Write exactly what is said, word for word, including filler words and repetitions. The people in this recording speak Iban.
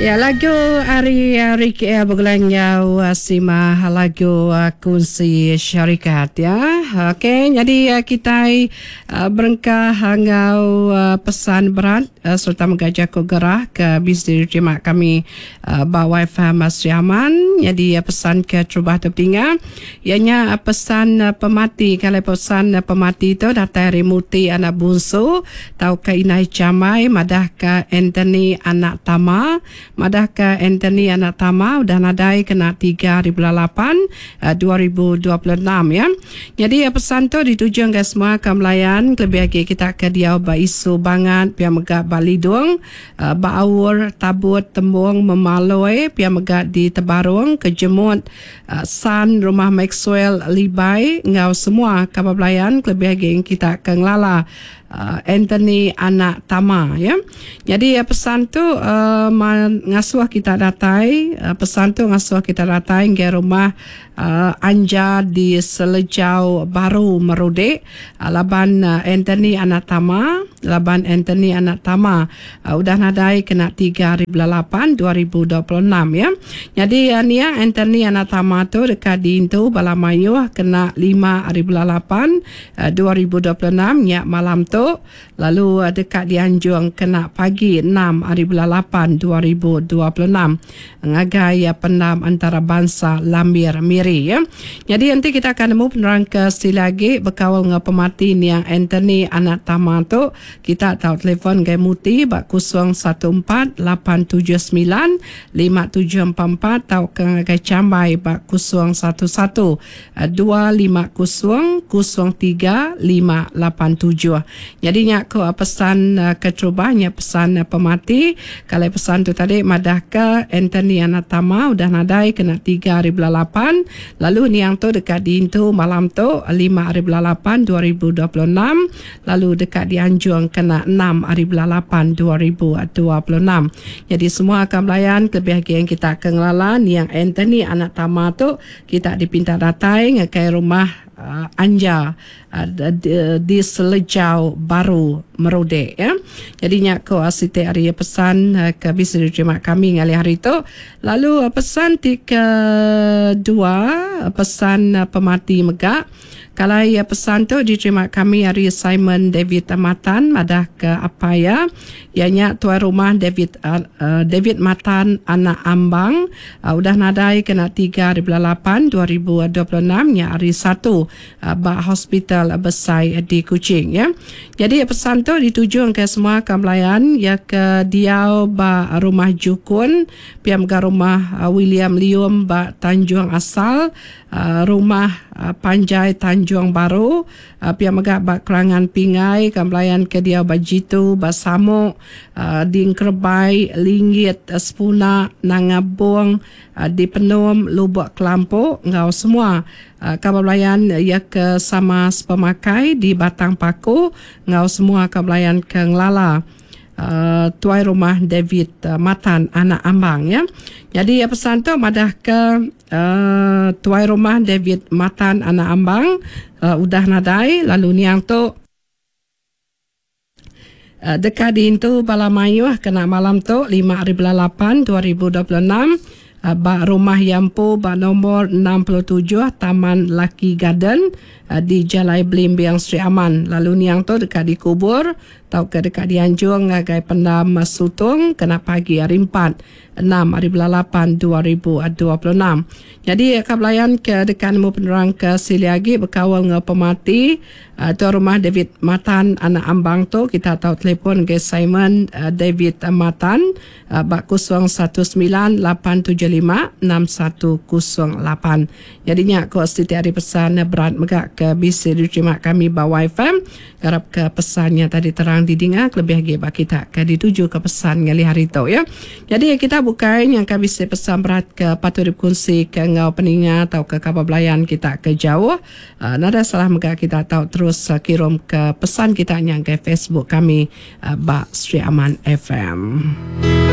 Ya, lagu ari Ricky L begulai enggau Sima, lagu Kunsi Syarikat ya. Okey, jadi kitai berengkah enggau pesan berat sereta mega jaku gerah ke bisi diterima kami ba Wi-Fi Sri Aman. Nyadi pesan ke terubah tu petinga iya nya pesan pemati. Kalai pesan pemati tu datai ari Muti anak Bunsu tauka Inai Chamai madahka Anthony anak Tama madahka Anthony anak Tama udah nadai kena tiga hari bulan lapan dua ribu dua puluh enam ya. Nyadi pesan tu dituju ngagai semua ke melayan kelebih agi kita ke diau ba isu bangat pia mega ba Lidong, ba Aur, Tabut, Tembung, Memaloi pia mega di Tebarung, Kejemut, San, Rumah Maxwell, Libai enggau semua kaban belayan kelebih agi kita ke ngelala Anthony anak Tama ya. Nyadi pesan tu uh, ngasuh kita datai, pesan tu ngasuh kita datai ngagai rumah uh, Anja di Selejau Baru Merudik uh, laban uh, Anthony anak Tama laban Anthony anak Tama uh, udah nadai kena tiga hari bulan lapan dua ribu dua puluh enam ya. Nyadi uh, niang Anthony anak Tama tu dekat diintu bala mayuh kena lima hari bulan lapan uh, dua ribu dua puluh enam nya malam tu, lalu dekat dianjung kena pagi enam hari bulan lapan dua ribu dua puluh enam ngagai pendam antarabangsa Lambir Miri ya. Jadi nanti kita akan nemu penerang ke sila lagi berkaul dengan pemati niang Anthony anak Tama tu. Kita tahu telefon gai Muti bak kosong satu empat lapan tujuh sembilan lima tujuh empat empat atau ke ngagai Cambai bak kosong satu satu dua lima kosong kosong tiga lima lapan tujuh. Jadi nyak ko pesan keterubahnya pesan pemati. Kalau pesan tu tadi madah ke Anthony anak Tama udah nadai kena tiga hari bulan lapan, lalu niang tu dekat diintu malam tu lima hari bulan lapan dua ribu dua puluh enam, lalu dekat dianjung kena enam hari bulan lapan dua ribu dua puluh enam. Jadi semua akan melayan kelebih lagi yang kita akan ngelala niang Anthony anak Tama tu, kita dipinta datai ngagai rumah uh, Anja uh, di, di Selejau Baru Merodek ya. Jadi nyak ko siti hari pesan uh, ke bisa diterima kami ngalih hari tu. Lalu uh, pesan ti kedua, pesan uh, pemati mega. Kalau ya pesan tu diterima kami hari Simon David Matan madah ke apa ya. Ianya tuan rumah David uh, David Matan anak Ambang uh, udah nadai kena tiga hari bulan lapan dua ribu dua puluh enam nya hari satu uh, ba hospital besai di Kuching ya. Jadi pesan tu dituju ke semua kamlayan ya ke diau ba rumah Jukun, piam ga rumah uh, William Lium ba Tanjung Asal, uh, rumah uh, Panjai Tanjung Baru, uh, pia mega ba Kerangan Pingai, kamlayan ke diau ba Jitu, ba Samuk, uh, di Engkerbai, Linggit, uh, Sepuna, Nangabung, uh, di Penom, Lubuk Kelampok, ngau semua uh, kamlayan ya ke sama sepemakai di Batang Paku, ngau semua kamlayan ke Ngelala. Uh, tuai rumah David uh, Matan anak Ambang ya. Jadi ya, pesan tu madah ke uh, tuai rumah David Matan anak Ambang uh, udah nadai, lalu niang tu uh, dekat diintu bala mayuh kena malam tu lima hari bulan lapan dua ribu dua puluh enam uh, ba rumah Yampu ba nombor enam puluh tujuh Taman Lucky Garden uh, di Jalai Belimbing Sri Aman. Lalu niang tu dekat dikubur tau ke dekat dianjung ngagai pendam Sutung kena pagi hari empat enam hari bulan lapan dua ribu dua puluh enam. Jadi kabelayan ke dekat nemu penerang ke sili agi berkawal dengan pemati uh, tuan rumah David Matan anak Ambang tu, kita tahu telefon ke Simon uh, David Matan uh, bak kosong satu sembilan lapan tujuh lima enam satu kosong lapan. Jadi nyak ko siti hari pesan berat megak ke bisa diterima kami ba Wi-Fi. Garap ke pesannya tadi terang didengar lebih lagi bak kita ke dituju ke pesan ngali hari tu ya. Jadi kita bukan yang kami bisa pesan berat ke patut dikongsi ke ngau peninga atau ke kabar belayan kita ke jauh. Uh, nada salah mega kita tahu terus uh, kirim ke pesan kita yang ke Facebook kami uh, Bak Sri Aman F M.